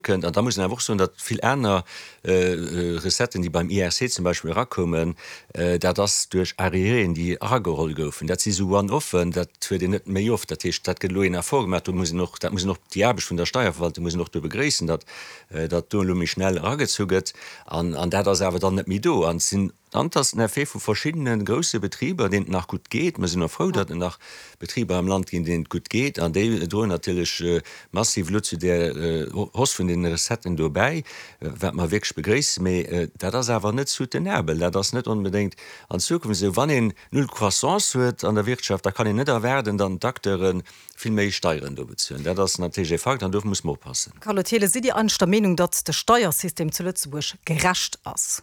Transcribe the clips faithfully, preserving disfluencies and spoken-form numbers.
Kënnt. An da muss een awer och soen, datt vill aner Recetten, déi beim I R C zum Beispill erakoumen, dat ass duerch Arriéréen, déi erageholl goufen. Dat si sou One-offen, dat huet een net méi oft. Dat heescht, dat gëtt elo een Effort gemaach. Do muss een och, dat muss een och, déi Aarbecht vun der Steierverwaltung muss een och do begréissen, datt dat do elo méi schnell eragezu gëtt. An dat ass awer dann net méi do. An et sinn An et ass den Effet vu verschiddene grousse Betriber, deenen et nach gutt geet. Mir sinn och frou, datt et nach Betriber am Land ginn, deenen et gutt geet. An déi droen natierlech massiv elo zu där Hausse vun deene Recetten do bäi, wat mer wierklech begréissen. Mee dat ass awer net soutenabel. Dat ass net onbedéngt an Zukunft esou. Wann een null Croissance huet an der Wirtschaft, da kann een net erwaarden, datt d'Acteure vill méi Steieren do bezuelen. Dat ass natierlech e Fakt an do muss mer oppassen. Carlo Thelen, sidd Dir eigentlech der Meenung, datt de Steiersystem zu Lëtzebuerg gerecht ass?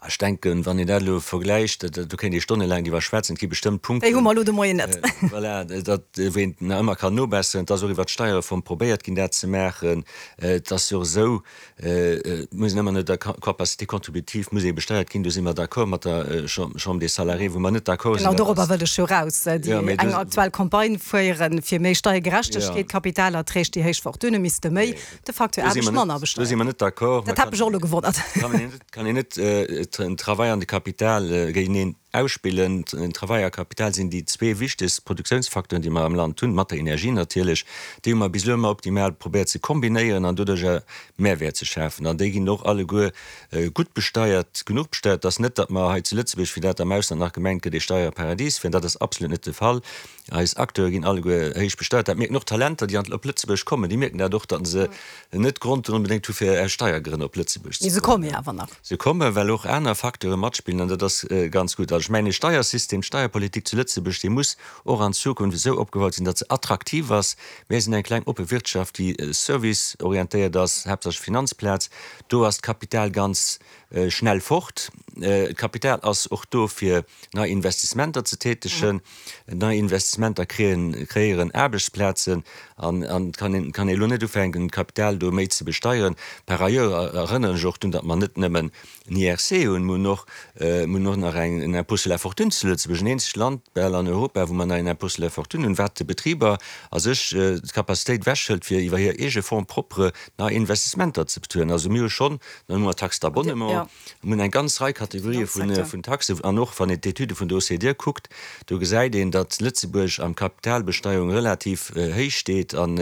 Ech denken, wann een dat elo vergläicht, do kéint ee stonnelaang driwwer schwätzen, et gi bestëmmt Punkten, déi hu mer elo de Moien net. Voilà, datt, wou een nach ëmmer kann nobesseren. Et ass och iwwert d'Steierreform probéiert ginn, dat ze maachen. Et ass jo och esou, et muss een ëmmer no der Capacité contributive muss ee besteiert ginn. Do si mer d'accord mat der Chambre des Salariés. Wou mer net d'accord sinn, dat ass. Genau dorobber wëllt ech jo eraus, déi eng aktuell Campagne féieren, fir méi Steiergerechtegkeet, Kapitalerträg, déi héich Fortunë misste méi, de facto Aarbecht manner besteiert. Do si mer net d'accord. Dat hat mech och elo gewonnert. Kann een net den Travail an de Kapital géinteneen ausspillen. Den Travail a Kapital sinn déi zwee wichtegst Produktiounsfacteuren, déi mer am Land hunn, mat der Energie natierlech. Déi hu mer bis elo ëmmer optimal probéiert ze kombinéieren an doduerch e Mehrwäert ze schafen. An déi ginn och alleguer gutt besteiert, genuch besteiert. Et ass net, datt mer hei zu Lëtzebuerg, wéi dat am Ausland nach gemengt gëtt, ee Steierparadies wieren. Dat ass absolut net de Fall. Eis Acteure ginn alleguer héich besteiert. Dat mierken och d'Talenter, déi an op Lëtzebuerg kommen. Déi mierken dat och, datt se net Grond onbedéngt hu fir aus Steiergrënn op Lëtzebuerg ze kommen. Mee se komme jo awer nach. Se kommen, well och aner Facteure matspillen, an dat ass ganz gutt. Also ech mengen, e Steiersystem, d'Steierpolitik zu Lëtzebuerg, déi muss och an Zukunft esou opgebaut sinn, datt se attraktiv ass. Mir sinn eng kleng oppe Wirtschaft, déi serviceorientéiert ass, haaptsächlech Finanzplaz. Do ass d'Kapital ganz schnell fort. D'Kapital ass och do fir nei Investissementer ze tätegen. Nei Investissementer kreéieren Aarbechtsplazen an et kann een kann ee elo net ufänken d'Kapital do méi ze besteieren. Par ailleurs erënneren ech och drun, datt mer net nëmmen en I R C hunn, mir hunn och mir hunn och nach eng en Impôt sur la fortune zu Lëtzebuerg, en eenzegt Land bal an Europa, wou mer nach en Impôt sur la fortune hunn, wat de Betriber a sech d'Capacitéit ewechhëlt fir iwwer hir eege Fonds propres nei Investissementer ze bezuelen. Also mir hu schonn, dann hu mer d'Taxe d'abonnement, mir hunn eng ganz Rei Kategorië vun Taxen. An och wann een d'Etüde vun der O C D E kuckt, do gesäit een, datt Lëtzebuerg am Kapitalbesteierung relativ héich steet an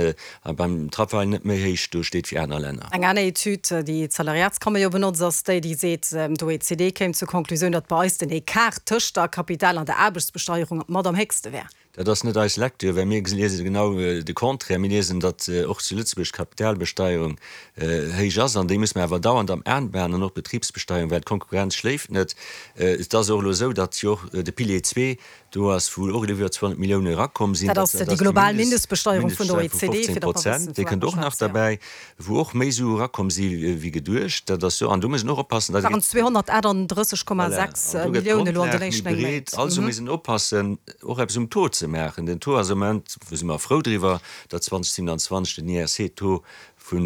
beim Travail net méi héich do steet wéi aner Länner. Eng aner Etüd, déi d'Salariatskammer jo benotzt, ass déi, déi seet, d'O E C D kéim zur Konklusioun, datt bei eis den Ecart tëscht der Kapital an der Aarbechtsbesteierung mat am héchste wär. Dat ass net eis Lecture, well mir liese genau de Contraire. Mir liesen, datt och zu Lëtzebuerg d'Kapitalbesteierung héich ass, an déi muss mer awer dauernd am Aen behalen, an och d'Betribsbesteierung, well d'Konkurrenz schléift net. Et ass och elo esou, datt jo och de Pilier zwee do ass, wou och elo iwwer zweehonnert Millioune erakomm sinn. Dat ass déi global Mindestbesteierung vun der O E C D, fir datt mer wëssen, vu wat mer schwätzen. Déi kënnt och nach derbäi, wou och méi Sue erakomm si wéi geduecht. Dat ass jo, an do muss een och oppassen, dat waren zweehonnertaachtunddrësseg Komma sechs Milliounen elo an den éischten néng Méint. Also muss een oppassen, och eppes um Taux ze maachen. Den Taux ass am Moment, wou si mer frou driwwer, datt zweedausendsiwenanzwanzeg den I R C-Taux vu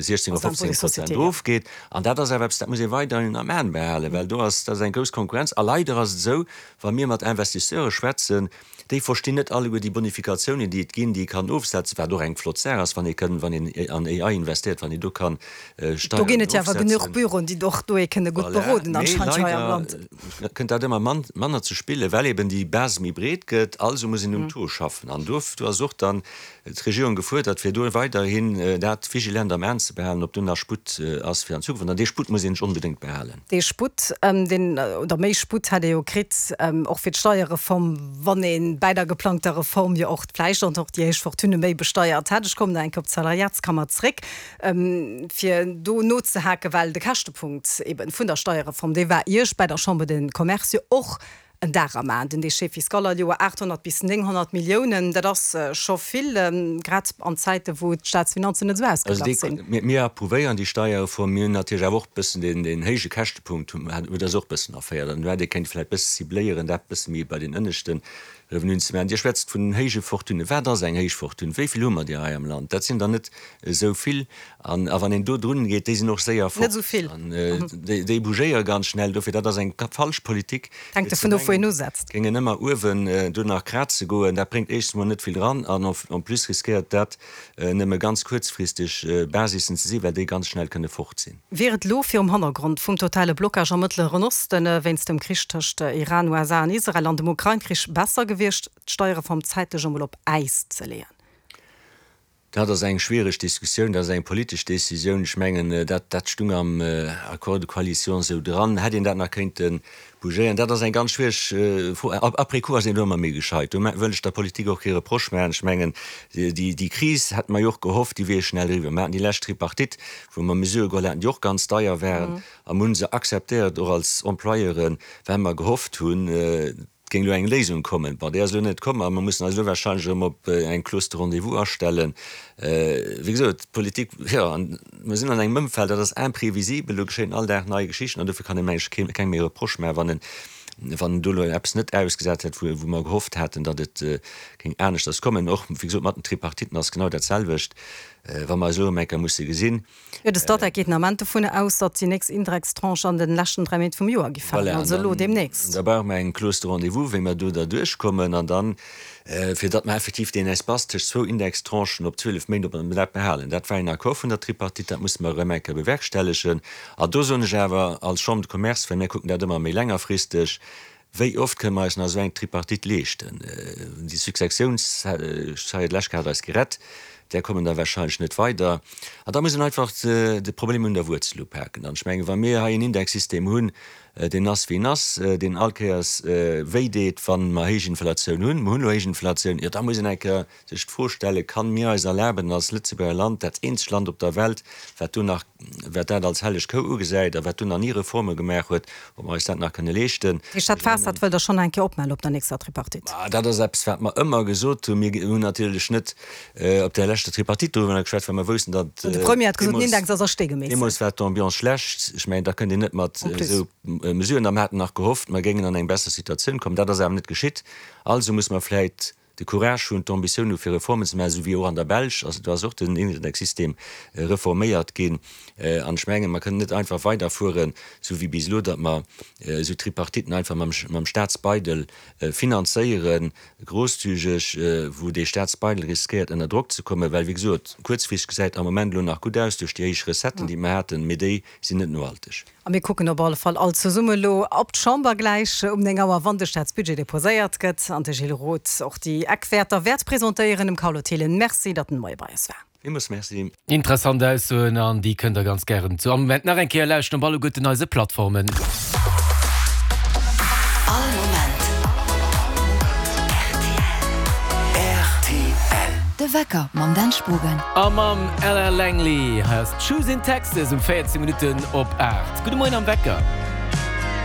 siechzéng op fofzéng Prozent erofgeet. An dat ass awer eppes, dat muss ee weiderhin am Aen behalen, well do ass, dat ass eng grouss Konkurrenz. A leider ass et esou, wa mir mat Investisseure schwätzen, déi verstinn net alleguer déi Bonifikatiounen, déi et ginn, déi ee kann ofsetzen, wat och eng flott Saach ass, wann ee kënn, wann een an A I investéiert, wann een do kann Do Steieren ginn et jo awer genuch ofsetzen. Büroen, déi och do ee kënne gutt Voilà, beroden mee anscheinend hei am leider Land. kënnt dat ëmmer manner ze spillen, well eben déi Base méi breet gëtt. Also muss een um Taux schaffen. An do ass och dann d'Regierung gefuerdert, fir do weiderhin dat vigilant am Aen ze behalen, ob do nach Sputt ass fir an Zukunft. An dee Sputt muss een sech onbedéngt behalen. Dee Sputt, deen, oder méi Sputt hätt ee jo kritt, och fir d'Steierreform, wann ee bäi der geplangter Reform jo och vläicht och déi héich Fortune méi besteiert hätt. Ech kommen nach eng Kéier op d'Salariatskammer zréck, fir do nozehaken, well de Käschtepunkt eeben vun der Steierreform, dee war Iech bäi der Chambre de Commerce jo och en Dar am Aen. Den Déchet fiscal all Joer aathonnert bis nénghonnert Milliounen, dat ass scho vill, grad an Zäiten, wou d'Staatsfinanzen net esou Also ausgeglach sinn. déi, mir approuvéieren déi Steierreform. Mir hunn natierlech awer och e bëssen deen, deen héije Käschtepunkt huet eis och e bëssen erféiert. An do hätt ee kéinte vläicht e bësse cibléieren, dat e bësse méi bei den ënneschten Revenuen ze maachen. Dir schwätzt vun héije Fortunen. Wat ass eng héich Fortune? Wéi vill hu mer där hei am Land? Dat sinn der net esou vill. An a wann een do drun geet, déi sinn och séier fort. Net esou vill. An déi bougéiere ganz schnell. Dofir, dat ass eng falsch Politik, Hänkt fir ze dovun of, wou een mengen, usetzt. géingen ëmmer uewen do nach kraze goen. Dat bréngt éischtens emol net vill dran an en plus riskéiert dat nëmme ganz kuerzfristeg Basissen ze sinn, well déi ganz schnell kënne fort sinn. Wier et elo virum Hannergrond vum totale Blockage am Mëttleren Osten wéinst dem Krich tëscht Iran, U S A an Israel an dem Ukrain-Krich besser gewiescht, d'Steierreform zäitlech emol op Äis ze leeën? Dat ass eng schwiereg Diskussioun, dat ass eng politesch Décisioun. Ech mengen, dat dat stung am Accord de coalition esou dran. Hätt een dat nach kéinte bougéieren? Dat ass eng ganz schwiereg Fro. Après coup ass een do ëmmer méi gescheit. Do wëll ech der Politik och kee Reproche maachen. Ech mengen, déi déi Kris hätte mer jo och gehofft, déi wier schnell eriwwer. Mer haten déi lescht Tripartite, wou mer Mesurë geholl haten, déi och ganz deier waren, a mer hu se akzeptéiert, och als Employeuren, well mer gehofft hunn, et géing elo eng Léisung kommen. Bon, déi ass elo net komm a mer mussen eis elo warscheinlech erëm op eng Clause de rendez-vous astellen. Wéi gesot, d'Politik, jo, mer sinn an engem Ëmfeld, dat ass imprévisibel, do geschéien all Dag nei Geschichten an dofir kann ee mengen ech kengem méi Reproche maachen, wann en, wann en do elo eppes net ausgesat huet, wou, wou mer gehofft haten, datt et géing aneschters kommen. Och, wéi gesot, mat den Tripartiten ass genau dat selwecht, wa mer eis elo erëm eng Kéier musse gesinn. Jo, de Statec geet den Ament dovun aus, datt déi nächst Indextranche an den leschten dräi Méint vum Joer gi falen, Voilà, an also elo dann, deemnächst. da brauche mer eng Clause de rendez-vous, wéi mer do derduerch kommen, an dann, fir datt mer effektiv deen Espace tëscht zwou Indextranchen op zwielef Méint, ob mer dat behalen. Dat war een Accord vun der Tripartite, dat musse mer erëm eng Kéier bewerkstellegen. An do soen ech awer als Chambre de Commerce, well mir kucken dat ëmmer méi längerfristeg, Wéi oft kënne mer eis nach esou eng Tripartite leeschten? Déi Successiounssteier, d'lescht Kéier hat eis gerett, där kommen der wahrscheinlech net weider. An da muss een einfach de Problem un der Wuerzel upaken. An ech mengen, wa mir hei en Indexsystem hunn, deen ass wéi en ass, deen all Kéiers wéi deet, wa mer héich Inflatioun hunn, mer hunn elo héich Inflatioun, jo da muss een eng Kéier sech d'Fro stellen, Kann mir eis erlaben als Lëtzebuerger Land, dat eenzegt Land op der Welt, wat do nach, wat dat als helleg Kou ugesäit a wat do nach ni Reforme gemaach huet, ob mer eis dat nach kënne leeschten? Dat heescht, dat Faass, dat wëllt Der schonn eng Kéier opmaachen op der nächster Tripartite? Dat ass eppes, wat mer ëmmer gesot hunn. Mir hunn natierlech net op där leschter Tripartite doriwwer geschwat, well mer woussten, datt De Premier hat gesot, den Index ass a Stee gemeesselt. Deemools war d'Ambiance schlecht. Ech mengen, da kënnt een net mat esou Mesuren. A mer haten nach gehofft, mer géingen an eng besser Situatioun kommen. Dat ass awer net geschitt. Also muss mer vläicht de Courage hunn, d'Ambitioun hu fir Reformen ze maachen, esou wéi och an der Belsch. Also do ass och den Indexsystem reforméiert ginn. An ech mengen, mer kënnen net einfach weiderfueren, esou wéi bis elo, datt mer esou Tripartiten einfach mam Staatsbeidel finanzéieren, grosszügeg, wou dee Staatsbeidel riskéiert ënner Drock ze kommen, well, wéi gesot, kuerzfristeg gesäit am Moment elo nach gutt aus duerch déi héich Recetten, déi mer haten, mee déi sinn net nohalteg. A mir kucken op alle Fall all zesumme elo op d'Chamber gläich um néng Auer, wann de Staatsbudget deposéiert gëtt an de Gilles Roth och déi Eckwäerter wäert presentéieren. Dem Carlo Thelen Merci, datt en de Moie bei eis war. Villmools Merci. Interessant Aussoen an déi kënnt der ganz gären zu all Moment nach eng Kéier lauschteren op alleguerten eise Plattformen. All Moment rtl. De Wecker mam Dan Spogen. A mam Ella Langley. Hei ass Choosing Texas um véierzéng Minutten op aacht. Gudde Moien am Wecker.